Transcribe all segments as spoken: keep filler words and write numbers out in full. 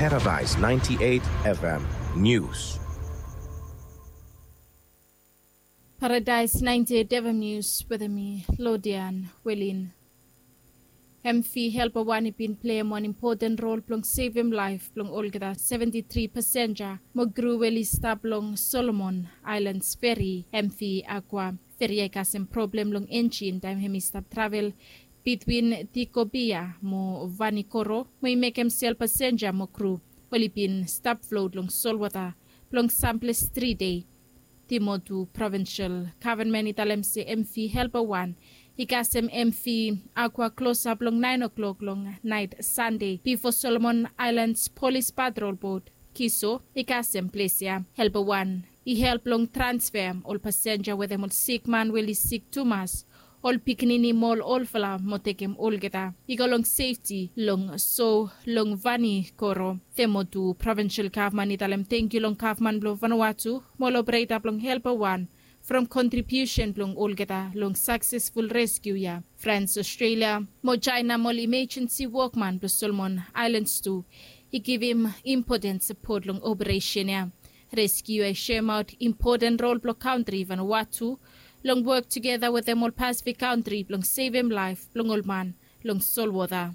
Paradise ninety-eight F M News. Paradise ninety-eight F M News wetem mi, Lodian Welin. M V Helper wan i bin pleim wan impoten rol blong sevem laef blong olgeta seventi tri pasenja mo kru we oli stap long Solomon Aelan feri, M V Aqua. Feri ya i kasem problem long enjin taem hem i stap travel bitwin Tikopia mo Vanikoro, mo i mekem sel pasenja mo kru oli bin stap flot long solwota blong samples tri dei. Timotu provinsel gavman i talem se M V Helper wan i kasem M V Aqua klosap long naen o'klok long naet Sande bifo Solomon Aelan Polis Patrol Bot, Kiso, i kasem ples ya. Helper wan i help long transfem ol pasenja wetem ol sikman we oli sik tumas, ol pikinini mo ol olfala mo tekem olgeta i go long sefti long so long Vanikoro. Timotu provinsel gavman i talem tangkiu long gavman blong Vanuatu mo ol opereta blong Helper wan from kontribiusen blong olgeta long saksesful reskiu ya. Frans, Ostrelia mo Jaena mo ol imejensi wokman blong Solomon Aelans tu i givim impoten sapot long operesen ya. Reskiu ya i soemaot impoten rol blong kantri Vanuatu long wok tugeta wetem ol Pasifik kantri blong sevem laef blong ol man long solwota.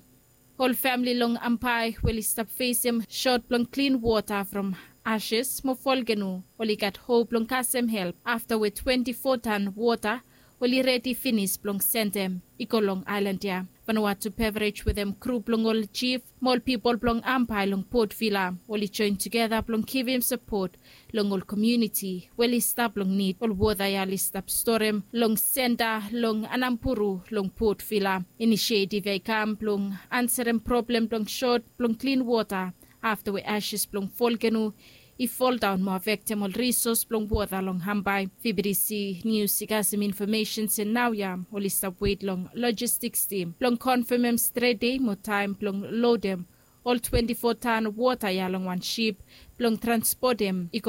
Ol famili long Ambae we oli stap fesem sot blong klin wota from ases mo folkeno oli gat hop blong kasem help afta we twenti fo tan wota oli redi finis blong sendem i go long aelan ya. Vanuatu Beverage wetem grup blong ol jif mo ol pipol blong Ambae long Port Vila oli joen tugeta blong givim sapot long ol komuniti we oli stap long nid. Ol wota ya oli stap storem long senta long Anamburu long Port Vila. Inisietiv ya i kam blong ansarem problem blong sot blong klin wota afta we ases blong folkeno i foldaon mo afektem ol risos blong wota long Ambae. V B T C Nius i kasem infomesen se naoia oli stap wet long lojistiks tim blong konfamem stret dei mo taem blong lodem ol twenti fo tan wota ya long wan sip blong transpotem i